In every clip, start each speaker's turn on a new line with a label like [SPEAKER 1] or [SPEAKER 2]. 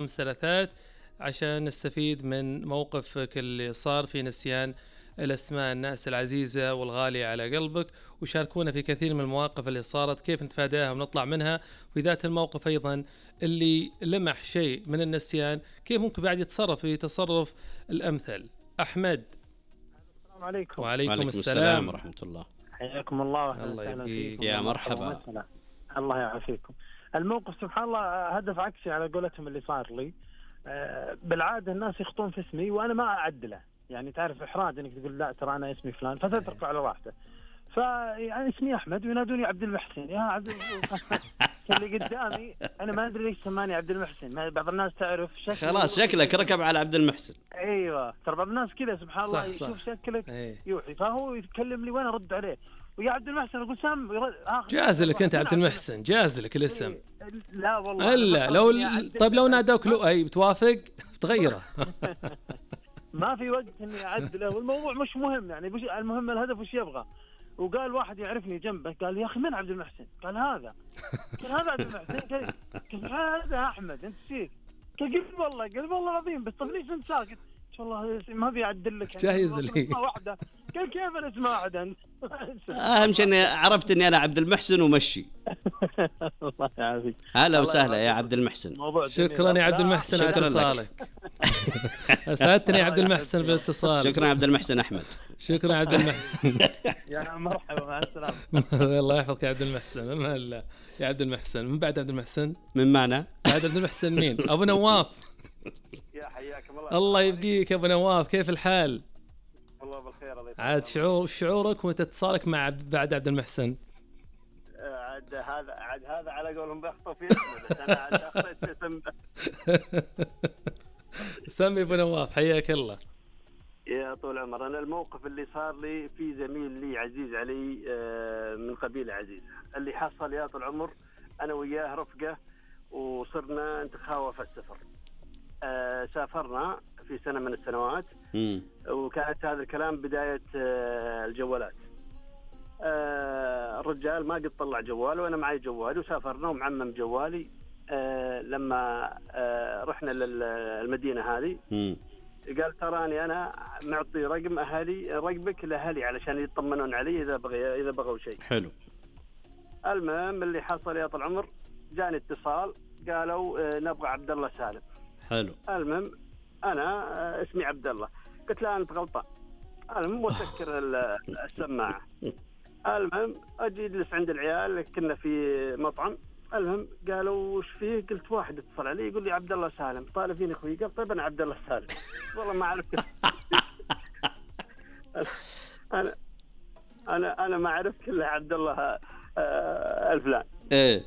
[SPEAKER 1] ثلاثات عشان نستفيد من موقفك اللي صار في نسيان الأسماء الناس العزيزة والغالية على قلبك، وشاركونا في كثير من المواقف اللي صارت كيف نتفاداها ونطلع منها، وفي ذات الموقف أيضا اللي لمح شيء من النسيان كيف ممكن بعد يتصرف في تصرف الأمثل. أحمد.
[SPEAKER 2] السلام عليكم.
[SPEAKER 1] وعليكم السلام
[SPEAKER 3] ورحمة الله.
[SPEAKER 2] حياكم الله.
[SPEAKER 1] الله يبقيك.
[SPEAKER 3] يا مرحبا.
[SPEAKER 2] الله يعافيكم. الموقف سبحان الله هدف عكسي على قولتهم اللي صار لي. بالعادة الناس يخطون في اسمي وأنا ما أعدله، يعني تعرف إحراج إنك تقول لا ترى أنا اسمي فلان فتترك على راحته. فيعني اسمي أحمد وينادوني عبد المحسن. يا عبد اللي قدامي أنا ما أدري ليش سماني عبد المحسن. بعض الناس تعرف
[SPEAKER 3] خلاص شكلك ركب على عبد المحسن.
[SPEAKER 2] أيوة ترى بعض الناس كذا سبحان الله يشوف شكلك يوحي، فهو يتكلم لي وأنا أرد عليه ويا عبد المحسن أقول سام
[SPEAKER 1] جاز لك أنت عبد المحسن، جاز لك الاسم.
[SPEAKER 2] لا والله
[SPEAKER 1] إلا لو طيب لو نادوك لؤي بتوافق بتغيره؟
[SPEAKER 2] ما في وقت إني أعدله والموضوع مش مهم، يعني المهم الهدف وش يبغى. وقال واحد يعرفني جنبه قال يا أخي من عبد المحسن؟ قال هذا عبد المحسن. قال هذا أحمد أنت سيك. قال والله العظيم بس طب ليش أنت ساكت؟ والله ما بيعدل لك
[SPEAKER 1] جاهز لي
[SPEAKER 2] واحدة. قال كيف أنا اسمه واحد أنت؟
[SPEAKER 3] أهم شيء إني عرفت إني أنا عبد المحسن ومشي.
[SPEAKER 2] الله يعافيك.
[SPEAKER 3] هلا وسهلا يا عبد المحسن.
[SPEAKER 1] شكرا يا عبد المحسن على اتصالك. أسعدتني يا عبد المحسن بالاتصال.
[SPEAKER 3] شكرا عبد المحسن أحمد.
[SPEAKER 1] شكرا عبد المحسن.
[SPEAKER 2] يا مرحبا مع السلامة.
[SPEAKER 1] الله يحفظك يا عبد المحسن. ما هلا يا عبد المحسن من بعد عبد المحسن
[SPEAKER 3] من معنا
[SPEAKER 1] بعد عبد المحسن مين؟ أبو نواف.
[SPEAKER 2] يا حياكم الله.
[SPEAKER 1] الله يبقيك أبو نواف، كيف الحال؟
[SPEAKER 2] والله بالخير. الله
[SPEAKER 1] عاد شعورك وانت اتصالك مع بعد عبد المحسن؟
[SPEAKER 2] عاد هذا على قولهم بيخطف في اسمه، انا عاد اخطيت اسم.
[SPEAKER 1] سمي ابو نواف حياك الله.
[SPEAKER 2] يا طول العمر. انا الموقف اللي صار لي في زميل لي عزيز علي من قبيله عزيزه، اللي حصل يا طول العمر انا وياه رفقه وصرنا نتخاوى في السفر. سافرنا في سنة من السنوات وكانت هذا الكلام بداية الجوالات. الرجال ما قد طلع جوال وأنا معي جوال وسافرنا ومعمم جوالي. لما رحنا للمدينة هذه قال تراني أنا معطي رقم أهلي رقمك لأهلي علشان يطمنون علي إذا بغوا شيء.
[SPEAKER 3] حلو.
[SPEAKER 2] المهم اللي حصل يا طال العمر جاني اتصال قالوا نبغى عبد الله سالم.
[SPEAKER 3] حلو.
[SPEAKER 2] المهم أنا اسمي عبد الله. قلت له أنت غلطان. المهم وسكر السماعة. المهم أجي أجلس عند العيال كنا في مطعم. المهم قالوا وش فيه؟ قلت واحد اتصل علي يقول لي عبد الله سالم. طالب فيني أخوي. قال طيب أنا عبد الله سالم. والله ما عرفت. أنا ما عرفت إلا عبد الله الفلان.
[SPEAKER 3] إيه.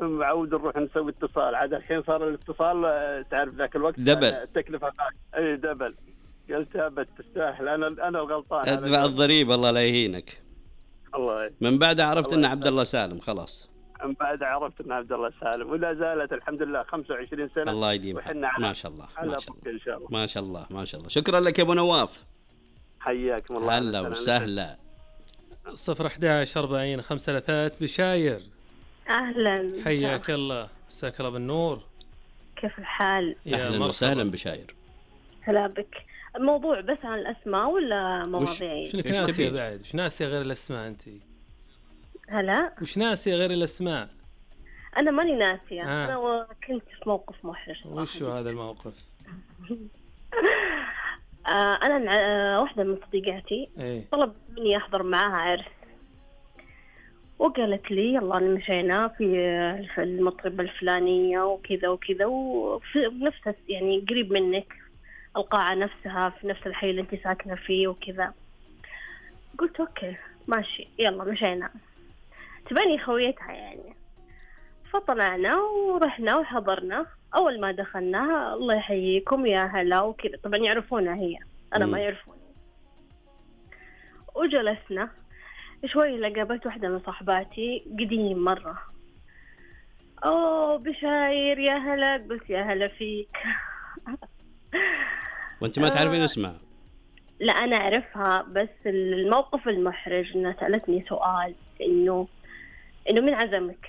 [SPEAKER 2] معود نروح نسوي اتصال. عاد الحين صار الاتصال تعرف ذاك الوقت
[SPEAKER 3] دبل
[SPEAKER 2] التكلفة. اي دبل. قلت ابد تستاهل انا الغلطان.
[SPEAKER 3] ادفع الضريبة الله لا يهينك.
[SPEAKER 2] الله
[SPEAKER 3] من بعد عرفت ان عبد الله سالم خلاص.
[SPEAKER 2] من بعد عرفت ان عبد الله سالم ولا زالت الحمد لله 25 سنة.
[SPEAKER 3] الله يديمك ما شاء الله
[SPEAKER 2] ما شاء الله. إن شاء الله.
[SPEAKER 3] ما شاء الله ما شاء الله. شكرا لك يا ابو نواف.
[SPEAKER 2] حياكم الله.
[SPEAKER 3] هلا وسهلا.
[SPEAKER 1] 011 40 5 بشاير.
[SPEAKER 4] أهلا.
[SPEAKER 1] حياك الله. مساك الله بالنور.
[SPEAKER 4] كيف الحال؟
[SPEAKER 3] أهلا وسهلا بشاير.
[SPEAKER 4] هلا بك. الموضوع بس عن الأسماء ولا مواضيع؟
[SPEAKER 1] شنو ناسية بعد؟ وش ناسية غير الأسماء أنت؟
[SPEAKER 4] هلا؟
[SPEAKER 1] وش ناسية غير الأسماء؟
[SPEAKER 4] أنا ماني ناسية. أنا كنت في موقف محرج.
[SPEAKER 1] وش هذا الموقف؟
[SPEAKER 4] أنا واحدة من صديقاتي طلب مني أحضر معاها عرس، وقالت لي يلا مشينا في المطربة الفلانية وكذا وكذا وفي نفس يعني قريب منك القاعة نفسها في نفس الحي اللي انت ساكنة فيه وكذا. قلت اوكي ماشي يلا مشينا. تباني خويتها يعني. فطلعنا ورحنا وحضرنا. اول ما دخلنا الله يحييكم يا هلا وكذا، طبعا يعرفونها هي انا ما يعرفوني. وجلسنا شوي لقابلت واحدة من صاحباتي قديم مرة. اوه بشاير يا هلا. قلت يا هلا فيك.
[SPEAKER 3] وانت ما تعرفين اسمها؟
[SPEAKER 4] لا انا اعرفها بس الموقف المحرج انها سألتني سؤال انه من عزمك.